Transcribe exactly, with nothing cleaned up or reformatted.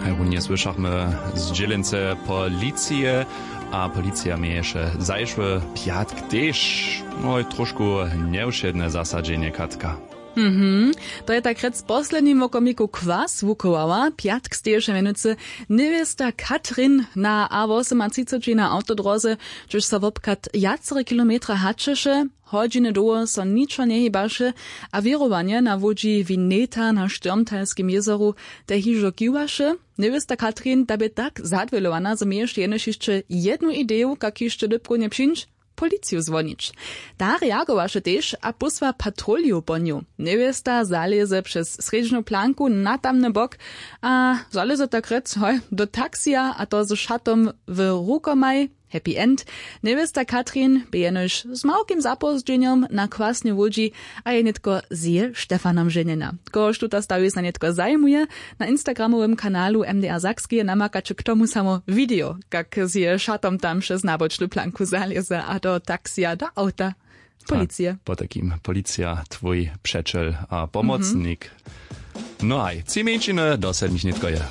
Runje słyšachmy z dźělence policije, a policija měješe zašły pjatk tež, no, tróšku njewšedne zasadźenje, Katka. Mhm. To je tak rjec w poslednim wokomniku kwas wuchowała. Pjatk steješe mjenujcy newěsta Katrin na a wosomatřiceći na awtodróze, hdźež so wobchad wjacore kilometra hačeše. Hodźiny dołho so ničo njehibaše, a wěrowanje na łódźi Vineta na Štyrmtalskim jězoru te hižo kiwaše. Newěsta Katrin ta bě tak zadwělowana, zo měješe jenož hišće jednu ideju, kak hišće dypkownje přińć: policiju zwonić. Ta reagowaše tež a pósła patrolju po nju. Newěsta zalěze přez srjedźnu planku na tamny bok a zalěze tak rjec, hoj, do taksija, a to z šatom w rukomaj. Happy end. Newěsta Katrin bě jenož z małkim zapózdźenjom na kwasnej łódźi a je nětko z jeje Stefanom ženjena. Kohož tuta stawiznja nětko zajimuje, na instagramowym kanalu M D R Sakskeje namakaće k tomu samo video, kak z jeje šatom tam přez nabočnu planku zalěze a do taksija, do awta policije. Potajkim: policija, twój přećel a pomocnik. No haj, tři mjeńšiny do sedmich nětko je.